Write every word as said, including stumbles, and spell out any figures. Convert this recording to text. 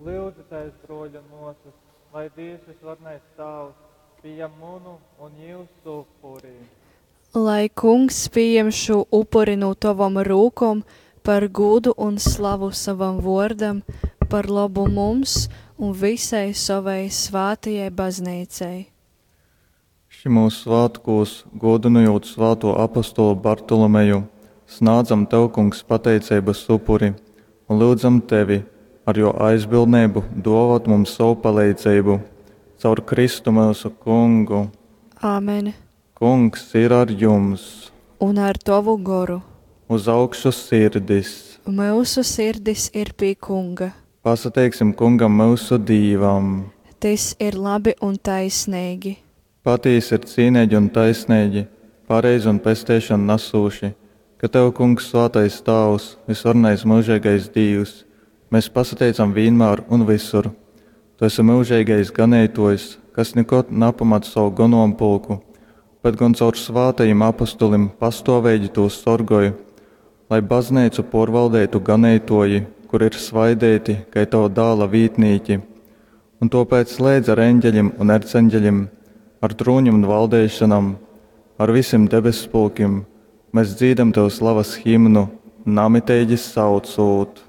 Lyudzitēs, bruoļi un muosys, lai Dīvs Vysvarenais Tāvs pījam munu un jiusu upuri. Lai Kungs pījam šū upuri no tovom rūkom par gūdu un slavu savam vuordam, par lobu mums un visai sovai svātajai Bazneicai. Šymūs svātkūs, gūdynojūt svātū apostolu Bartolomeju, snādzam tev, Kungs, pateiceibas upuri un lyudzam tevi ar jō aizbildneibu dōvōt mums sovu paleidzeibu. Caur Kristu myusu Kungu. Āmen. Kungs ir ar jums! Un ar tovu goru. Uz augšu sirdis! Myusu sirdis ir pie Kunga. Pasateiksim Kungam myusu Dīvam! Tys ir labi un taisneigi. Patīsi ir cīneigi un taisneigi, pareizi un pesteišonu nasūši, ka tev, Kungs, svātais Tāvs, vysvarenais myužeigais Dīvs, mes pasateicam vīnmār un vysur. Tu esi myužeigais Ganeitōjs, kas nikod napamat sovu gonompulku, bet gon caur svātajim apostolim pastōveigi tū sorgoj. Lai bazneicu pōrvaldeitu ganeitōji, kuri ir svaideiti kai tova Dāla vītnīki. Un tōpēc leidz ar eņgelim un erceņgelim, ar trūnim un valdeišonom, ar visim debesspulkim mes dzīdam tev slavas himnu, namiteigi saucūt.